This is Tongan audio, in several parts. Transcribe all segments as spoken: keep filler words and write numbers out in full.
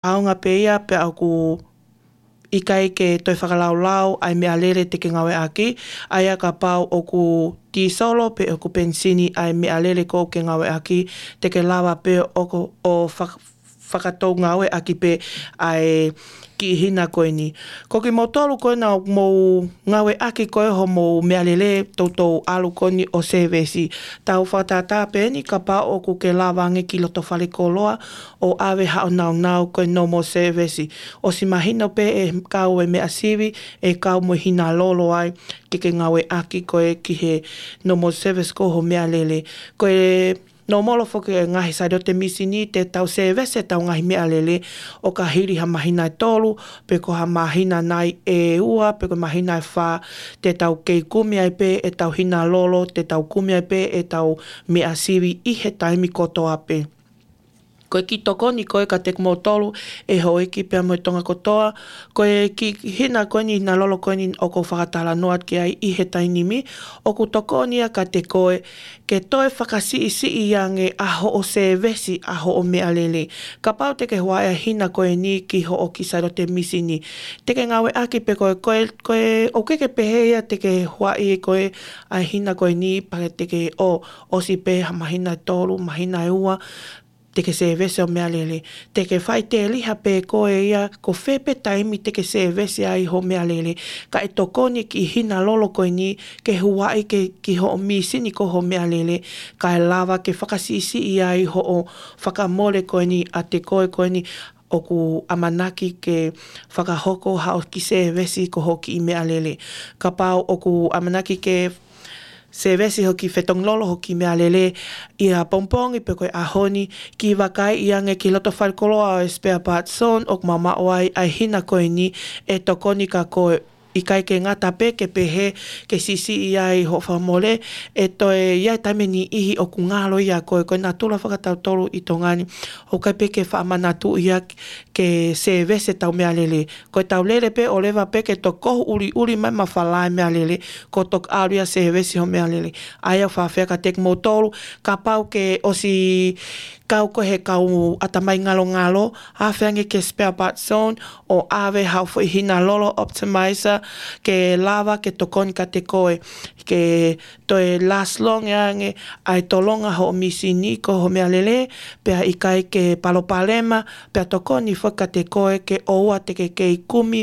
ʻaonga pē ia pea ʻoku ʻikai ke toe fakalaulau ʻa e meʻalele te ke ngāueʻaki, ʻa ia kapau ʻoku tīsolo pe ʻoku penisini ʻa e meʻalele ʻoku ke ngāueʻaki, te ke lava pē ʻo, ʻo fak-, fakatou ngāueʻaki pē ʻa e kiʻi hina ko eni. Ko kimoutolu ko ena ʻoku mou ngāueʻaki ko ē hoʻomou meʻalele toutou ʻalu ko eni ʻo sēvesi. Tau fakatātā pē eni kapau ʻoku ke lava ange ki loto falekoloa ʻo ʻave haʻo nāunau ko e normal service. ʻOsi mahino pē ʻe kau e meʻa sivi, ʻe kau mo e hina lolo ai, ke ke ngāueʻaki ko ē ki he normal service ko hoʻo meʻalele. Ko e normal foki e ngaahi sailote misini te tau sēvesi ʻetau ngaahi meʻalele ʻo ka hili ha māhina ʻe tolu, pe ko ha māhina nai ʻe ua, pe ko e māhina ʻe fā, te tau kei kumi ai pē ʻetau hina lolo, te tau kumi ai pē ʻetau meʻa sivi ʻi he taimi kotoa pē. Ko e kiʻi tokoni ko ē kiate kimoutolu ʻe houʻeiki pea mo e Tonga kotoa, ko e kiʻi hina ko eni, hina lolo ko eni ʻoku ou fakatalanoa ki ai ʻi he taimi ni, ʻoku tokoni ia kiate koe ke toe fakasiʻisiʻi ange ʻa hoʻo sēvesi ʻa hoʻo meʻalele. Kapau te ke huaʻi ʻa e hina ko eni ki hoʻo kiʻi sailote misini, te ke ngāueʻaki pē ko e, ko e, ko e, ʻoku ʻikai ke pehē ia te ke huaʻi ko ē ʻa e hina ko eni pea te ke ʻo, ʻosi pē ha māhina ʻe tolu, māhina ʻe ua, te ke sēvesi hoʻo meʻalele. Te ke faʻiteliha pē koe ia ko fē pē taimi te ke sēvesi ai hoʻo meʻalele. Kae tokoni e kiʻi hina lolo ko eni ke huaʻi ke, ki hoʻo misini ko hoʻo meʻalele. Kae lava ke fakasiʻisiʻi ai hoʻo fakamole ko eni ʻiate koe ko eni ʻoku ʻamanaki ke fakahoko haʻo kiʻi sēvesi ko hoʻo kiʻi meʻalele. Kapau ʻoku ʻamanaki ke sēvesi hoʻo kiʻi fetongi lolo hoʻo kiʻi meʻalele ʻi he pongipongi pe ko e ʻaho ni, kiʻi vakaiʻi ange ki loto falekoloa ʻo e Spare Parts Zone ʻoku maʻu ai ʻa e hina ko eni ʻe tokoni kia koe. ʻIkai ke ngata pē ke pehē ke siʻisiʻi ai hoʻo fakamole, ʻe toe ʻi ai e taimi ʻe niʻihi ʻoku ngalo ia ko e, ko e natula fakatautolu ʻi Tonga ni, ʻoku ʻikai pē ke faʻa manatuʻi ia ke sēvesi ʻetau meʻalele. Ko ʻetau lele pē ʻo leva pē ke tokohu ʻuliʻuli mai mafala e meʻalele, kuo toki ʻalu ia ʻo sēvesi hoʻo meʻalele. ʻA ia ʻoku ou fakaafeʻi kiate kimoutolu, kapau ke ʻosi kau koe he kau ʻatamai ngalongalo, afe ange ki he Spare Parts Zone ʻo ʻave haʻo foʻi hina lolo optimizer ke lava ke tokoni kiate koe ke toe last long ange ʻa e tolonga hoʻo misini ko hoʻo meʻalele, pea ʻikai ke palopalema, pea tokoni foki kiate koe ke ʻoua te ke kei kumi,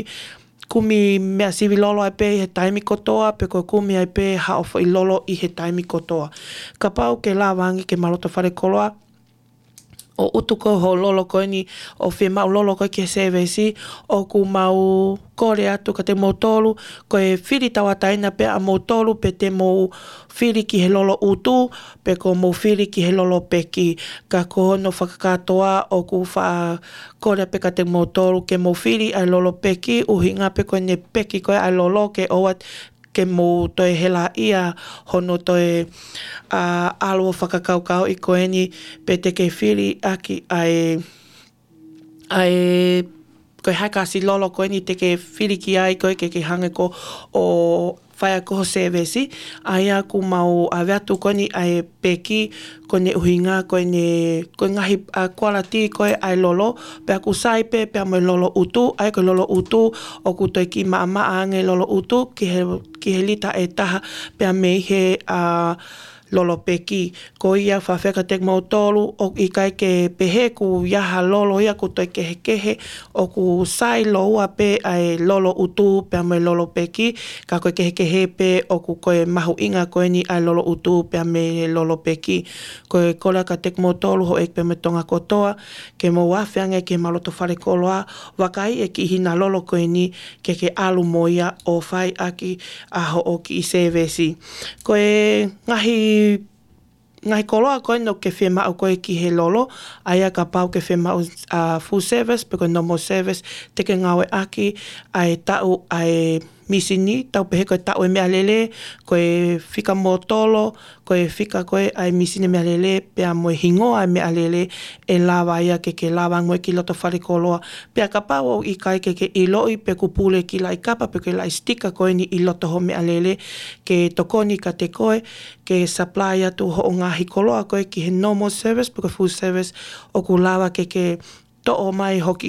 kumi meʻa sivi lolo ai pē ʻi he taimi kotoa, pe ko e kumi ai pē haʻo foʻi lolo ʻi he taimi kotoa. Kapau ke lava ange ke ma loto falekoloa ʻo utu ko hoʻo lolo ko eni, ʻo fiemaʻu lolo ko ē ki he sēvesi, ʻoku mau kole atu kiate kimoutolu, ko e fili tauʻatāina pē ʻamoutolu, pe te mou fili ki he lolo utu, pe ko hoʻomou fili ki he lolo peki. Ka ko hono fakakātoa ʻoku ou fakakole pē kiate kimoutolu ke mou fili ʻa e lolo peki, ʻuhinga pē ko ʻene peki ko ē ʻa e lolo ke ʻoua ke mou toe helaʻia hono toe, ʻa, ʻalu ʻo fakakaukauʻi ko eni pe te ke fili ʻaki ʻa e, ʻa e, ko e hā e kasi lolo ko eni te ke fili ki ai ko ē ke, ke hangē ko ʻo fai ʻaki hoʻo sēvesi. ʻA ia ʻoku mau ʻave atu ko eni ʻa e peki, ko ʻene ʻuhinga ko ʻene, ko e ngaahi, ʻa, quality ko ē ʻa e lolo, pea ʻoku sai pē pea mo e lolo utu. ʻA ia ko e lolo utu ʻoku toe kiʻi maʻamaʻa ange e lolo utu ki he, ki he lita ʻe taha pea mei he, ʻa, lolo peki. Ko ia ʻoku ou fakaafeʻi kiate kimoutolu, ʻoku ʻikai ke pehē ʻoku ʻi ai ha lolo ia ʻoku toe kehekehe, ʻoku sai lōua pē ʻa e lolo utu pea mo e lolo peki, ka ko e kehekehe pē ʻoku ko e mahuʻinga ko eni ʻa e lolo utu pea mo e lolo peki. Ko e kole kiate kimoutolu houʻeiki pea mo e Tonga kotoa, ke mou afe ange ki he ma loto falekoloa, vakaiʻi e kiʻi hina lolo ko eni ke ke ʻalu mo ia ʻo fai ʻaki ʻa hoʻo kiʻi sēvesi. Ko e ngaahi, ngaahi koloa ko eni ʻoku ke fiemaʻu ko ē ki he lolo, ʻa ia kapau ʻoku ke fiemaʻu, ʻa, full service, pe ko e normal service, te ke ngāueʻaki ʻa e taʻu ʻa e misini, tau pehē ko e taʻu e meʻalele, ko e fika mōtolo, ko e fika ko ē ʻa e misini meʻalele, pea mo e hingoa e meʻalele, ʻe lava ia ke ke lava ange mo ia ki loto falekoloa. Pea kapau ʻoku ʻikai ke ke ʻiloʻi pe ʻoku pule e kiʻi laʻi kapa pe ko e laʻi sitika ko eni ʻi loto hoʻo meʻalele, ke tokoni kiate koe, ke supply atu hoʻo ngaahi koloa ko ē ki he normal service pe ko e full service, ʻoku lava ke ke toʻo mai hoki